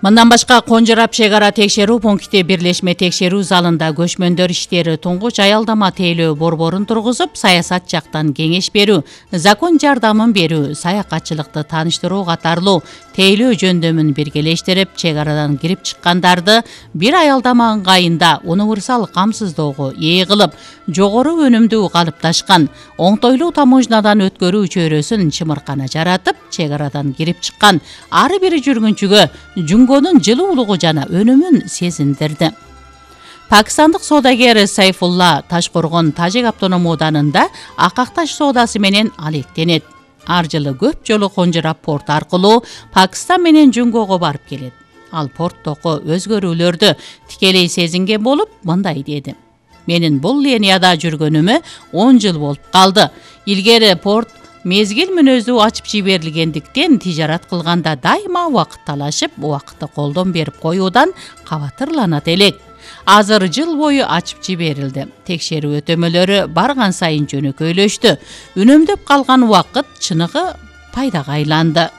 Мындан башка Конжарап чек-ара текшерүү пункти бирлешме текшерүү залында көчмөндөр иштери, туңгуч аялдама тейлөө борборун тургузуп, саясат жактан кеңеш берүү, закон жардамын берүү, саякатчылыкты тааныштыруу катарлуу тейлөө жөндөмүн биргелештирип, чек-арадан кирип чыккандарды бир аялдама ыңгайында универсал камсыздоого ээ кылып, жогору өнүмдүү калыпташкан оңтойлуу таможнядан өткөрүү чөйрөсүн чымыркана жаратып, чек-арадан кирип чыккан ар бир жүргүнчүгө жүнгөнүн жылуулугу жана өнүмүн сезиндирди. Пакистандык соодагер Сайфулла Ташкоргон Тажик автоном ооданында акакташ соодасы менен алектенет. Ар жылы көп жолу Конжарап порт аркылуу Пакистан менен Жүнгөөгө барып келет. Ал порттогу өзгөрүүлөрдү тикелей сезинген болуп, мындай деди: "Менин бул линияда жүргөнүмө 10 жыл болуп калды. Илгери порт мезгил мүнөздүү ачып жиберилгендиктен тижарат кылганда дайыма убакыт талашып, убакытты колдон берип коюудан кабатырланат элек. Азыр жыл бою ачып жиберилди. Текшерүү өтөмөлөрү барган сайын жөнөкөйлөштү. Үнөмдөп калган убакыт чыныгы пайдага айланды."